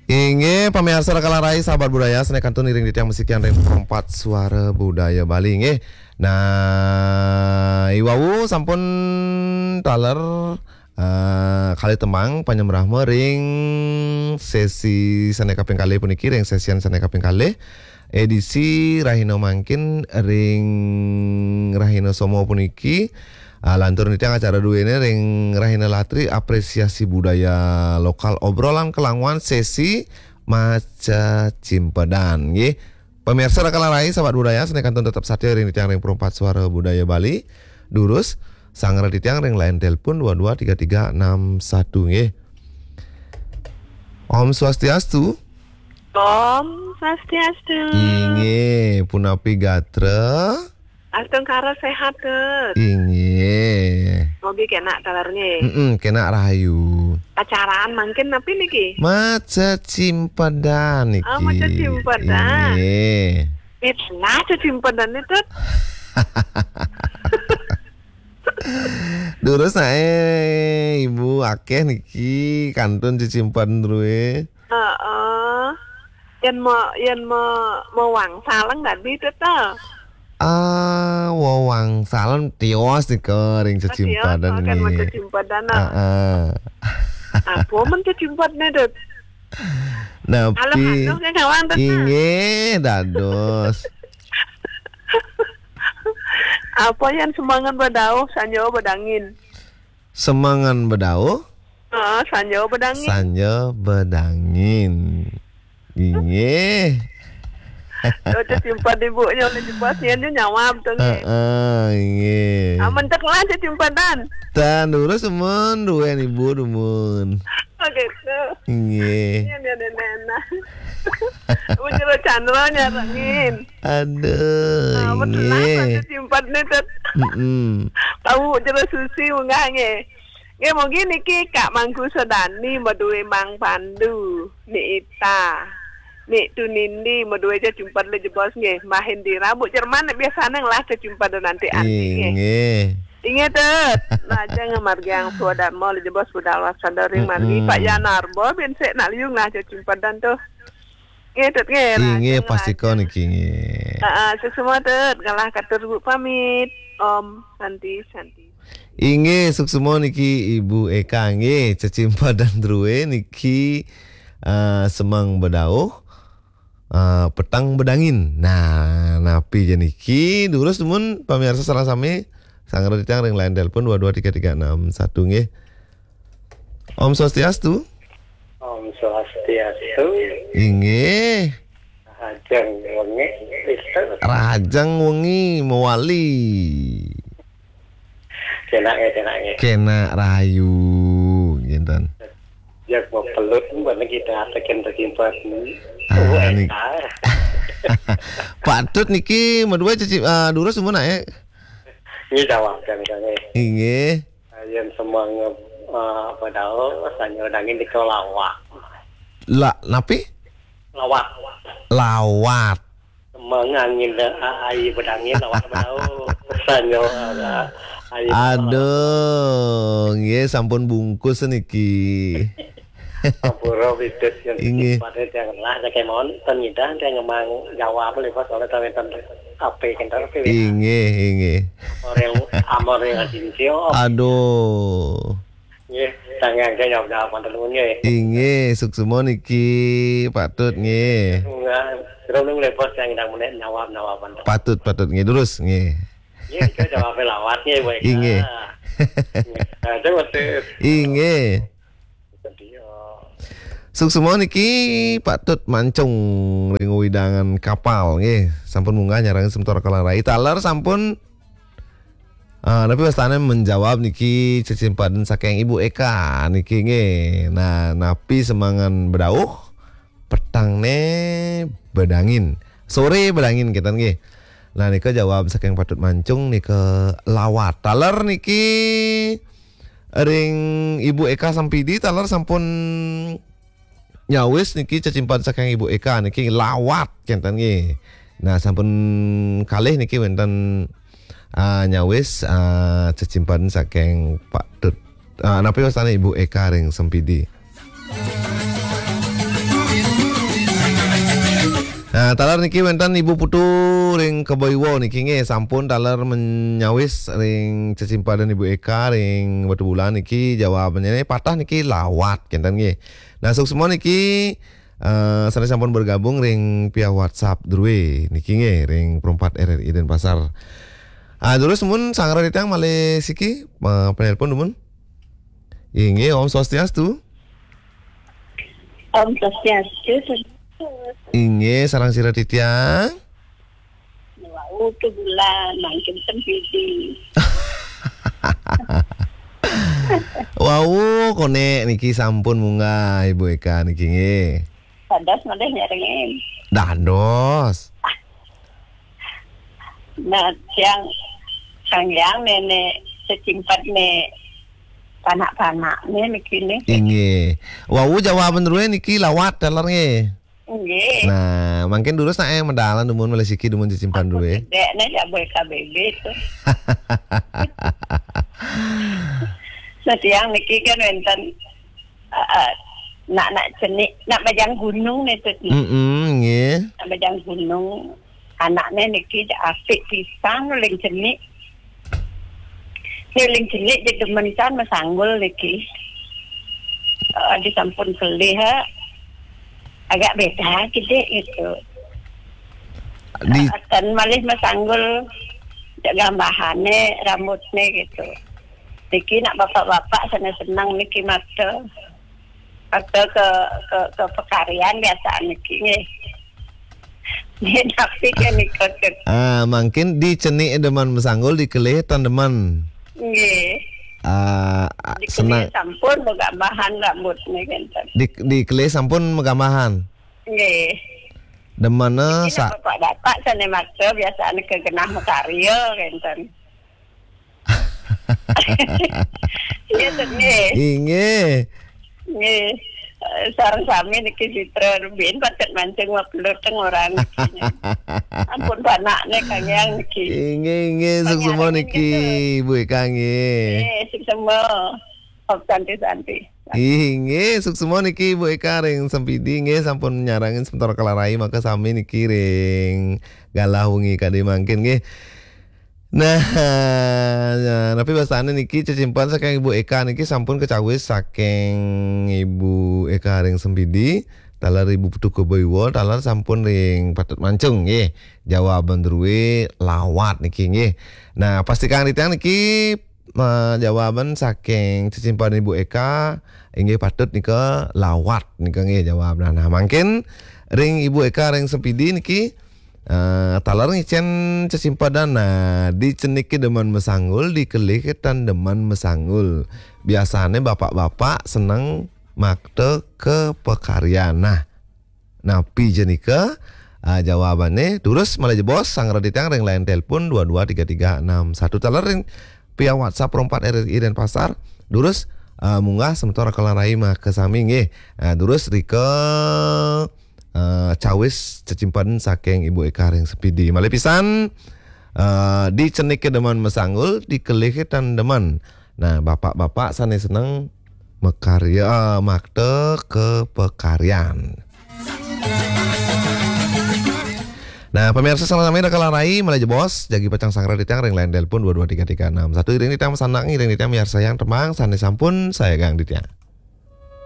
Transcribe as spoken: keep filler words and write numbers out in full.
Inggih, pamiarsa Raka Larai, sahabat budaya, sané kantun iring titiang masikian ring Perempat Suara Budaya Bali, nggih. Nah, i wau sampun taler, eh, kalih tembang panyembrama ring sesi sané kaping kalih puniki, ring sesian sané kaping kalih, edisi rahina mangkin ring rahina Soma puniki. Ah, lantur titiang acara duéné ring rahina Latri, apresiasi budaya lokal, obrolan kelanguan, sesi maca cimpedan, nggih. Pamiarsa Raka Larai, sahabat budaya, sané kantun tetep satia ring titiang ring Perempat Suara Budaya Bali. Durus, sanggra titiang ring line telepon dua dua tiga tiga enam satu, nggih. Om Swastiastu. Om Swastiastu. Inggih, punapi gatra? Astungkara séhat, Tut. Inggih. Mugi kénak talerné. Mm-mm, kénak rahayu. Acaraan mangkin napi niki? Maca cimpedan niki. Oh, maca cimpedan. Inggih. Pitlah cacimpedan nih, Tut. Durus naé, Ibu, akéh niki kantun cacimpedan drué. Heeh. Yén ma-, yén ma-, mawangsalang tadi, Tut, to? Ah, wawangsalan tios nika ring cacimpedan. Oh, tios, oh, kan nggih. Cacimpedan, ah. Heeh. Apa men cacimpedan, Tut? Napi? Halo, halo, kan kawan, Tut, nah. Inggih, dados. Apa yén semengan bedauh, sanja bedangin? Semengan bedauh? Heeh, sanja bedangin. Sanja bedangin. Inggih. Tuh, cacimpedan ibunya oleh jebos, nyén nyawab tuh, nggih. Heeh, inggih. Ah, mentek lah cacimpedan. Tan, durus dumun, duén ibu dumun. Oh, gitu. Inggih. Iya, iya, iya, iya, nah. Ibu Jero Chandra nyarengin. Aduh, ah, betul lah, inggih. Cacimpedan nih, Tut. Mm-mm. Tahu Jero Susi munggah, nggih. Nggih, mugi niki Kak Mangku Sodani madué Mang Pandu, Ni Ita, Ni Tunindi madué cacimpedan jebos nggih, Mbah Hendira, Bu Jerman biasané ngelah cacimpedan anti-anti nggih. Inggih. Inggih, Tut. Lajeng ngamargiang swadarma jebos budal wasada ring margi, mm-mm. Pak Yanarba bin sik nak liu ngelah cacimpedan tuh. Nggih, Tut, nggih, inggih, rajeng, pastika rajeng. Niki, nggih. Heeh, suksma, Tut, ngalah katur Bu pamit. Om Santi, Santi. Inggih, suksma niki Ibu Eka, nggih, cacimpedan drué niki, eh, semeng bedauh, eh, peteng bedangin. Nah, napi ja niki, durus dumun pamiarsa sareng sami, sanggra titiang ring line telepon dua dua tiga tiga enam satu, nggih. Om Swastiastu. Om Swastiastu. Inggih. Rahajeng wengi, Mister. Rahajeng wengi mawali. Kénak ya, kénak ya. Kénak rahayu, ngénten. Ya, mau pelut, mana kita atakin tersimpan. Ah, Bu Eka. Patut niki, madua cacim-, ah, durus semua nak, ya? Ini jawab, kan, kan, ya. Inggih. Yén semeng, eh, bedauh, sanja bedangin nika lawat. La, napi? Lawat. Lawat. Semeng angin, eh, ai bedangin lawat bedauh. Sanja, eh, ai bedauh lawat. Aduh, nggih sampun bungkus niki. Ampura, Bidus, yén inggih. Pada tiang lah, tiang kemon, ten ngidah, tiang ngemang jawab, lepas oleh tawetan ape kentar, ape, ya. Inggih, inggih. Amor yang, amor yang asin sio. Aduh. Nggih, tangan saya jawab, jawab, mantan nuwun, nggih. Inggih, suksma niki, patut, nggih. Enggak, terus nung lepas yang ngidah menek, jawab, jawab, mantan. Patut, patut, nggih, terus, nggih. Nggih, kita jawab lawat, nggih, Bu Eka. Inggih. Nggih, nah, itu betul. Inggih. Suksma niki patut mancung ring wewidangan kapal, nggih. Sampun munggah nyarengin semeton Raka Larai. Taler sampun, eh, napi wastané menjawab niki cecimpadan saking Ibu Eka niki, nggih. Nah, napi semengan bedauh, petangné bedangin. Soré bedangin kénten, nggih. Nah, nika jawab saking patut mancung nika lawat. Taler niki ring Ibu Eka Sampidi, taler sampun nyawis niki cecimpan saking Ibu Eka niki lawat kénten nggih. Nah, sampun kalih niki wénten, ah, nyawis, ah, cecimpan saking Pak Tut. Ah, napi wastané Ibu Eka ring Sampidi? Nah, taler niki wénten Ibu Putu ring Kebaiwa niki nggih, sampun taler menyawis ring cecimpadan Ibu Eka ring Batubulan niki, jawabannyané patah niki lawat kénten nggih. Nah, suksma niki, eh, sané sampun bergabung ring via WhatsApp drué niki nggih, ring Perempat R R I Denpasar. Ah, durus mun sanggra titiang malih siki, eh, penelpon dumun. Inggih, Om Swastiastu. Om Swastiastu. Inggih, sareng sira titiang. Wau, Batubulan, mangkin Sempidi. Wau, koné niki sampun munggah Ibu Eka niki nggih. Dados malih nyarengin. Dados. Nah, tiang Sang Hyang Néné cecimpadné panak-panakné niki nih. Inggih. Wau jawaban drué niki lawat taler nggih. Nggih. Nah, mangkin durus nak yang medalan dumun malih siki dumun cecimpan drué. Dék nih ya boy K B B tuh. Nah, tiang niki kan wénten, eh, eh, nak, nak cenik, nak bajang gunung nih tuh. Mm-mm, nggih. Nak bajang gunung. Anakné niki apik pisan uling cenik. Uling cenik jeg demen pisan masanggul niki. Eh, disampun kelih, ha. Agak beda gedé gitu. Di Eh, ten malih masanggul, jeg gambahané, rambutné gitu. Niki nak bapak-bapak sané seneng niki makta. Atau ke, ke, ke pekarian biasaan niki nggih. Nggih, tapi kan ikut ke Ah, mangkin di cenik demen masanggul, di kelih tan demen. Nggih. Ah, Di senang. Kelih sampun magambahan rambutné kénten. Di, di kelih sampun magambahan. Nggih. Demen Niki sa- nak bapak-bapak sané makta biasaan ke genah makarya kénten. Iya, Tut, nggih. Inggih. Nggih. Eh, sareng sami niki Sitra Rubin patut mancing mapeluteng orang niki. Ampun panakné Kang Yang niki. Inggih, inggih, suksma niki, Bu Eka nggih. Nggih, suksma. Om Santi Santi. Inggih, suksma niki Bu Eka ring Sempidi nggih sampun nyarengin semeton Kalarai maka sami niki ring galah wengi kadi mangkin nggih. Nah, nah, napi wastané niki cecimpan saking Ibu Eka niki sampun kacawis saking Ibu Eka ring Sempidi, taler Ibu Putu Kebaiwa, taler sampun ring patut mancung nggih. Jawaban drué lawat niki nggih. Nah, pastikang titiang niki, eh, jawaban saking cecimpan Ibu Eka inggih patut nika lawat nika nggih jawab. Nah, nah mangkin ring Ibu Eka ring Sempidi niki Eh, taler ngicén cecimpadan, nah, di cenik ké demen masanggul, di kelih ké tan demen masanggul. Biasané bapak-bapak seneng makta ka pakaryan. Nah, napi ja nika? Ah, jawabané, durus malih jebos, sanggra titiang ring line telepon dua dua tiga tiga enam satu. Taler ring via WhatsApp Pro empat R R I Denpasar. Durus, ah, munggah semeton Kalarai maka sami nggih. Ah, durus rika eh, cawis cecimpan saking Ibu Eka ring Sempidi. Malih pisan, eh, di cenik ké demen masanggul, di kelih ké tan demen. Nah, bapak-bapak sané seneng makarya, eh, makta ka pakaryan. Nah, pamirsa sareng sami ring Kalarai, malih jebos, jagi pacang sanggra titiang ring line telepon dua dua tiga tiga enam satu. Iring titiang masandekan, iring titiang miarsayang tembang sané sampun sayagang titiang.